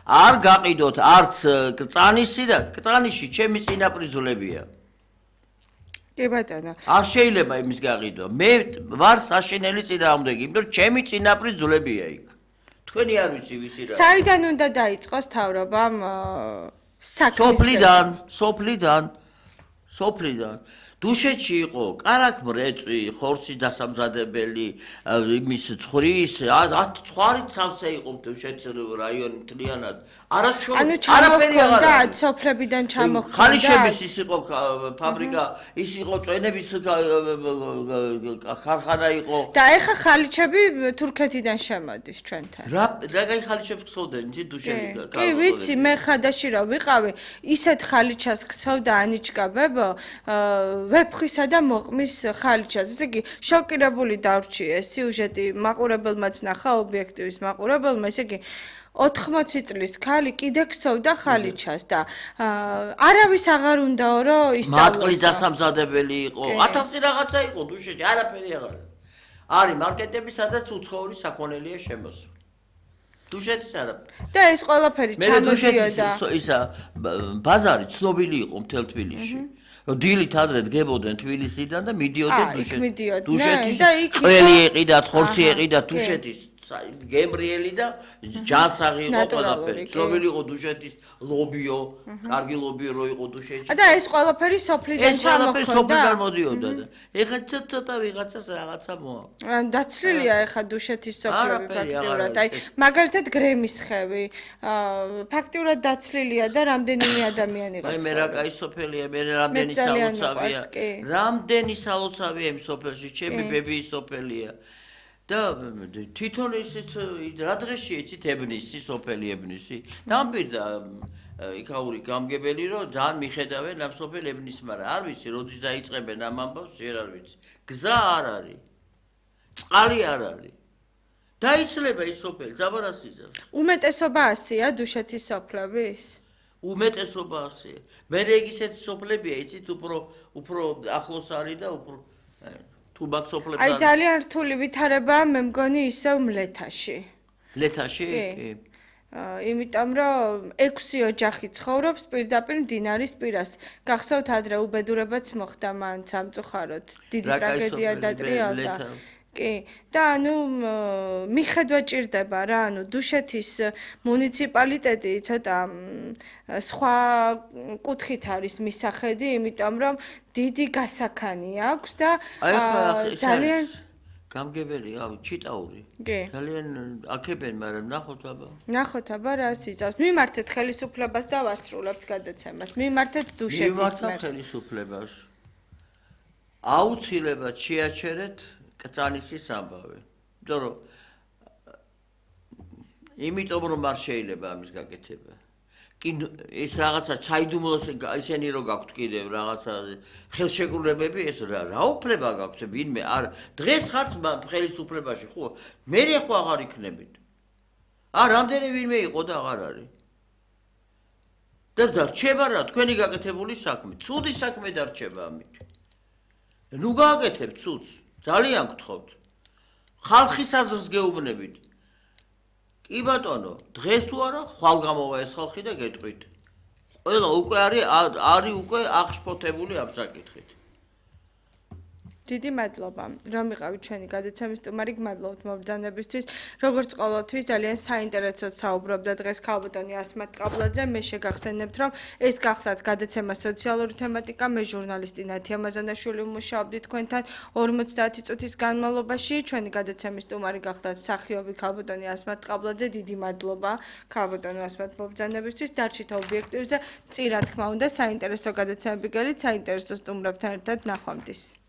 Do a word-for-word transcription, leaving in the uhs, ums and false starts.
არ გაყიდოთ არც კრწანისი და კრწანიში ჩემი წინაპრიძულებია. კი ბატონო. არ შეიძლება იმის გაყიდვა. მე ვარ საშინელი წინააღმდეგი, იმიტომ რომ ჩემი წინაპრიძულებია იქ. თქვენი არ ვიცი ვისი რა. საიდან უნდა დაიწყოს თავრობამ საქმის? სოფლიდან, სოფლიდან, სოფლიდან. დუშეთში იყო კარაქ მრეწვი, ხორცის დასამზადებელი, იმის ცხრის, ცხარი ცავსე იყო დუშეთის რაიონი მთლიანად. არაჩვეულ არაფერი აღარ აქვს. სოფლებიდან ჩამოხდა. ხალიჩების ის იყო ფაბრიკა, ის იყო წვენების ქარხანა იყო. და ეხა ხალიჩები თურქეთიდან შემოდის ჩვენთან. რა რა გაი ხალიჩებს ხსოვდნენ იცი დუშეთი. კი ვიცი, მე ხადაში რა ვიყავი, ისეთ ხალიჩას ხსოვდა ანიჩკა ბებო, ვეფხვისა და მოყმის ხალიჩას. ესე იგი, შოკირებული დავრჩი ეს სიუჟეტი მაყურებელმაც ნახა ობიექტივის მაყურებელმა, ესე იგი ოთხმოცი წლის ქალი კიდე ხსოვდა ხალიჩას და არავის აღარ უნდაო რომ ისწავლოს. მატყლის დასამზადებელი იყო, ათასი რაღაცა იყო დუშეთში, არაფერი აღარ. არის მარკეტები, სადაც უცხოური საქონელია შემოსული. დუშეთის არაფერი. და ეს ყველაფერი ჩამოდიოდა. ისა ბაზარი ცნობილი იყო მთელ თბილისში. დილით ადრე დგებოდნენ თბილისიდან და მიდიოდნენ დუშეთის. დუშეთის ყველი ეყიდათ, ხორცი ეყიდათ დუშეთის. გემრიელი და ჯანსაღი იყო ყველაფერი. ცნობილი იყო დუშეთის ლობიო, კარგი ლობიო რო იყო დუშეთში. და ეს ყველაფერი სოფლიდან ჩამოხდა. ეს ყველაფერი სოფლიდან მოდიოდა და ეხლა ცოტა ვიღაცას რაღაცა მოა. დაცლილია ეხლა დუშეთის სოფლები ფაქტიურად. აი მაგალითად გრემის ხევი ფაქტიურად დაცლილია და რამდენიმე ადამიანი იყო. აი მე რა კაი სოფელია, მე რამდენი სალოცავია. რამდენი სალოცავია იმ სოფელში, ჩემი ბებიის სოფელია. და თვითონ ისიც რა დღეში იცით ებნისი, სოფელი ებნისი. დამპირდა იქაური გამგებელი რომ ძალიან მიხედავენ ამ სოფელ ებნის, მაგრამ არ ვიცი, როდის დაიწყებენ ამ ამბავს, ვერ არ ვიცი. გზა არ არის. წყალი არ არის. დაიცლება ის სოფელი, ზაბარასიძე. უმეტესობა ასია დუშეთის სოფლების? უმეტესობა ასია. მე ეგ ისეთი სოფლებია, იცით, უფრო უფრო ახლოს არის და უფრო აი ძალიან რთული ვითარებაა მე მგონი ისევ მლეთაში. მლეთაში? კი. იმიტომ რომ ექვსი ოჯახი ცხოვრობს პირდაპირ მდინარის პირას. გახსოვთ ადრე უბედურებაც მოხდა მან სამწუხაროდ. დიდი ტრაგედია დატრიალდა. კი. და ანუ მიხედვა ჭირდება რა, ანუ დუშეთის მუნიციპალიტეტი ცოტა სხვა კუთხით არის მისახედი, იმიტომ რომ დიდი გასაქანი აქვს და ძალიან გამგებელია, ჩიტაური. ძალიან აქებენ, მაგრამ ნახოთ აბა. ნახოთ აბა რა სიზავს. მიმართეთ ხელისუფლებას და ვასრულებთ გადაცემას. მიმართეთ დუშეთის მერს. მიმართეთ ხელისუფლებას. აუცილებლად შეაჩერეთ კრწანისის ამბავი. იმიტომ რომ იმიტომ რომ არ შეიძლება ამის გაკეთება. კი ეს რაღაცა ჩაიდუმლოს ისენი რო გაქვთ კიდევ რაღაცა ხელშეკრულებები ეს რა რა უფლება გაქვთ ვინმე არ დღეს ხართ ხელისუფლებაში ხო მე ხო აღარ იქნებით. ა რამდენი ვინმე იყო და აღარ არის. და დარჩება რა თქვენი გაკეთებული საქმე. ცუდი საქმე დარჩება ამით. ნუ გააკეთებთ ცუდს. ძალიან გთხოვთ. ხალხის აზრს გეუბნებით. კი ბატონო, დღეს თუ არა, ხვალ გამოვა ეს ხალხი და გეტყვით. ყველა უკვე არის არის უკვე აღშფოთებული ამ საკითხით. დიდი მადლობა, რომ იყავით ჩვენი გადაცემის სტუმარი, გმადლობთ მობრძანებისთვის. როგორც ყოველთვის ძალიან საინტერესოდ საუბრობდა დღეს ქალბატონი ასმათ ყაბლაძე. მე შეგახსენებთ, რომ ეს გახლავთ გადაცემა სოციალური თემატიკა, მე ჟურნალისტი ნათია მაზანაშვილი ვმუშაობდი თქვენთან ორმოცდაათი წუთის განმავლობაში. ჩვენი გადაცემის სტუმარი გახლავთ მსახიობი ქალბატონი ასმათ ყაბლაძე. დიდი მადლობა ქალბატონო ასმათ მობრძანებისთვის. დარჩით ობიექტივზე. წირა თქმა უნდა, საინტერესო გადაცემები გელით, საინტერესო სტუმრებთან ერთად ნახვამდის.